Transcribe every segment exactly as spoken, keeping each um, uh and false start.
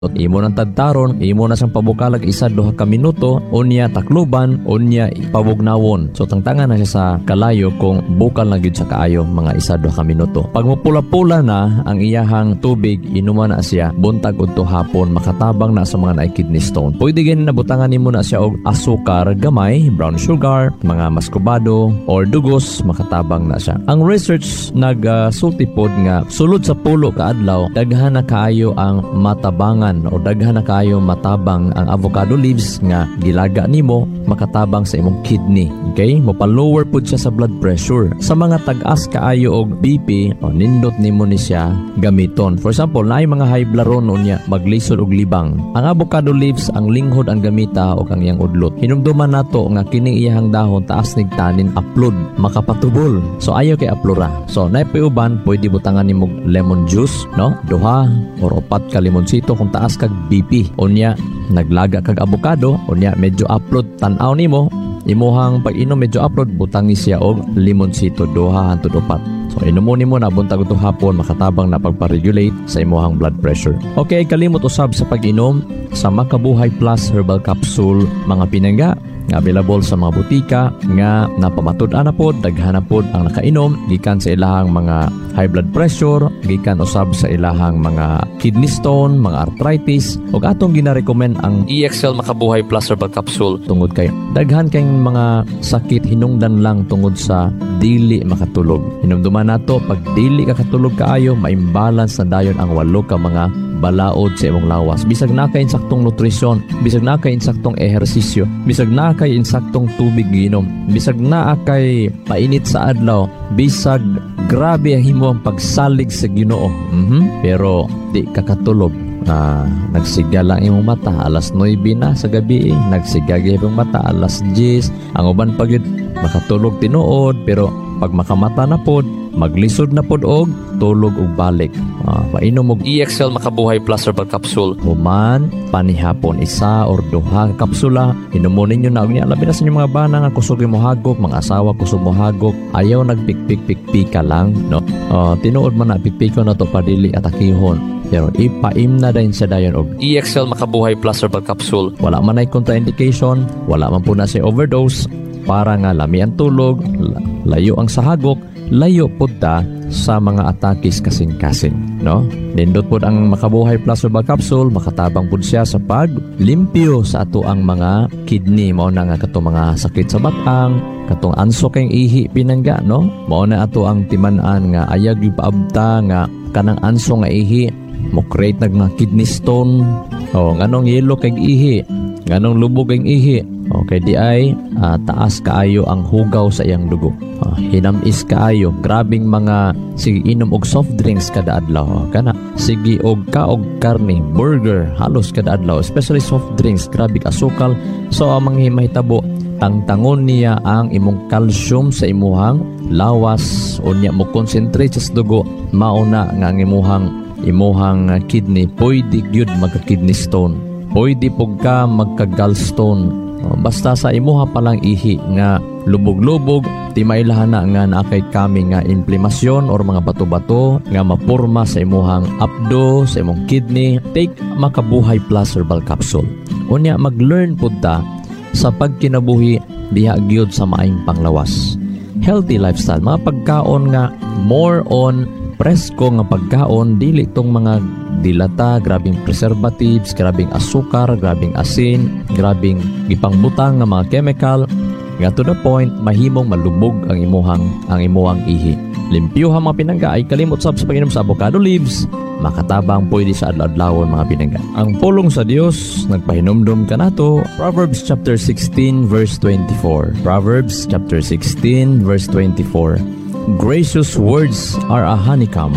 Imo nang tadtaron, imo na siyang pabukalag isa duha ka minuto, unya takluban, unya pabugnawon. So tangtangan na siya sa kalayo kung bukal na gyud sa kaayo mga isa duha ka minuto. Pag mupula-pula na ang iyahang tubig, inuma na siya buntag udto hapon, makatabang na sa mga naay kidney stone. Pwede gani nabutangan nimo na siya og asukar gamay, brown sugar, mga maskubado or dugos, makatabang na siya. Ang research nagsulti pod nga sulod sa pulo ka adlaw, daghan na kaayo ang matabangan o daghan na kaayo matabang ang avocado leaves nga gilaga nimo, makatabang sa imong kidney. Okay? Mopa-lower pud siya sa blood pressure. Sa mga tag-as kaayo og B P, o nindot nimo ni siya gamiton. For example, naay mga high blood ron, unya maglisod og libang. Ang avocado leaves ang linghod ang gamita og ang iyang udlot. Hinumduman nato nga kining iyahang dahon taas nig tannin, aplod, makapatubol. So ayaw kay aplora. So naay uban, pwede butangan nimo lemon juice, no? Duha or upat ka limonsito kung taas kag B P. Unya naglaga kag avocado, unya medyo aplod, tan-aw nimo imuhang pag-inom medyo aplod, butangi siya og limonsito, duha hangtod upat. So inumo nimo na buntag udto hapon, makatabang na pagpa-regulate sa imuhang blood pressure. Okay, kalimot usab sa pag-inom sa Makabuhay Plus Herbal Capsule, mga pinangga, nga available sa mga butika, nga napamatud-an na pod, daghan na pod ang nakainom gikan sa ilahang mga high blood pressure, gikan usab sa ilahang mga kidney stone, mga arthritis. Ug atong gina-recommend ang E X L Makabuhay Plus Herbal Capsule tungod kay daghan kay mga sakit hinungdan lang tungod sa dili makatulog. Hinumduman nato, pag dili ka katulog kaayo, ma-imbalance na dayon ang walo ka mga balaod sa imong lawas. Bisag naa kay insaktong nutrisyon, bisag naa kay insaktong ehersisyo, bisag naa kay insaktong tubig giinom, bisag naa kay painit sa adlaw, bisag grabe ang himo ang pagsalig sa Ginoo. Mhm. Pero di ka katulog. Ah, nagsiga lang imong mata alas nuwebe na sa gabi, eh. Nagsiga gyud mata alas diyes. Ang uban pa gyud makatulog tinuod, pero pag makamata na pod, maglisod na pod og tulog og balik. Ah, painom og E X L Makabuhay Plus Herbal Capsule human panihapon, isa or duha ka kapsula inumon ninyo na. Unya labi na sa inyong mga bana nga kusog mo hagok, mga asawa kusog mo hagok, ayaw nagpikpik-pikpika lang, no? Oh, tinuod man na pikpiko na to padili atakihon, pero ipaim na din siya dayon og E X L Makabuhay Plus Herbal Capsule. Wala man ay contraindication, wala man po na siya overdose, para nga lami ang tulog, layo ang sahagok, layo pud ta sa mga atakis kasing-kasing, no? Nindot pud ang Makabuhay Plus Herbal Capsule, makatabang pud siya sa paglimpyo sa ato ang mga kidney. Mao na nga katong mga sakit sa batang, katong anso kay ihi, pinangga, no? Mao na ato ang timan-an nga ayag paabta nga kanang anso nga ihi mo create nag mga kidney stone. Oh, nganong yelo kay ihi, nganong lubog kay ihi? Okay, di ay uh, taas kaayo ang hugaw sa iyang dugo. Uh, hinamis kaayo, grabing mga sige inom og soft drinks kada adlaw. Oh, kana sige og kaog karne, burger halos kada adlaw, especially soft drinks, grabe asukal. So ang mga mahitabo, tangtangon niya ang imong calcium sa imuhang lawas, unya mo concentrate sa dugo, mauna nga ang imuhang imuhang kidney pwede gyud magka kidney stone, pwede pug ka magka gallstone. Oh, basta sa imuha palang ihi nga lubog-lubog, timailahan na nga naa kay kami nga inflamasyon or mga bato-bato nga mapurma sa imuhang apdo, sa imong kidney. Take Makabuhay Plus Herbal Capsule. Unya mag-learn pud ta sa pagkinabuhi diha gyud sa maayong panglawas. Healthy lifestyle, mga pagkaon nga more on presko nga pagkaon, dili tong mga dilata, grabing preservatives, grabing asukar, grabing asin, grabing gipangbutang nga mga chemical nga to the point mahimong malubog ang imuhang ang imuhang ihi. Limpyuha, mga pinangga, ay kalimot sab sa pag-inom sa avocado leaves, makatabang pwede sa adlaw-adlawon, mga pinangga. Ang pulong sa Dios nagpahinumdom kanato, Proverbs chapter sixteen verse twenty-four. Proverbs chapter sixteen verse twenty-four. "Gracious words are a honeycomb,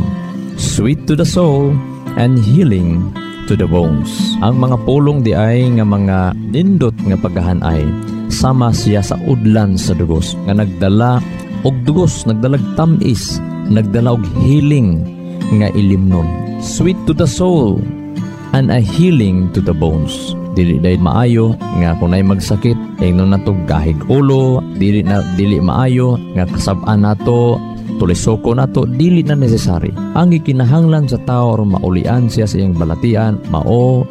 sweet to the soul and healing to the bones." Ang mga pulong di ay nga mga nindot nga pagkahanay, sama siya sa udlan sa dugos nga nagdala og dugos, nagdalag tamis, nagdala og healing nga ilimnon. Sweet to the soul and a healing to the bones. Dili dahil maayo nga kung nay magsakit ingnon nato gahig ulo, dili na dili maayo nga kasab-an nato Tulisoko nato dili na necessary. Ang gikinahanglan sa tao aron maulian siya sa iyang balatian mao.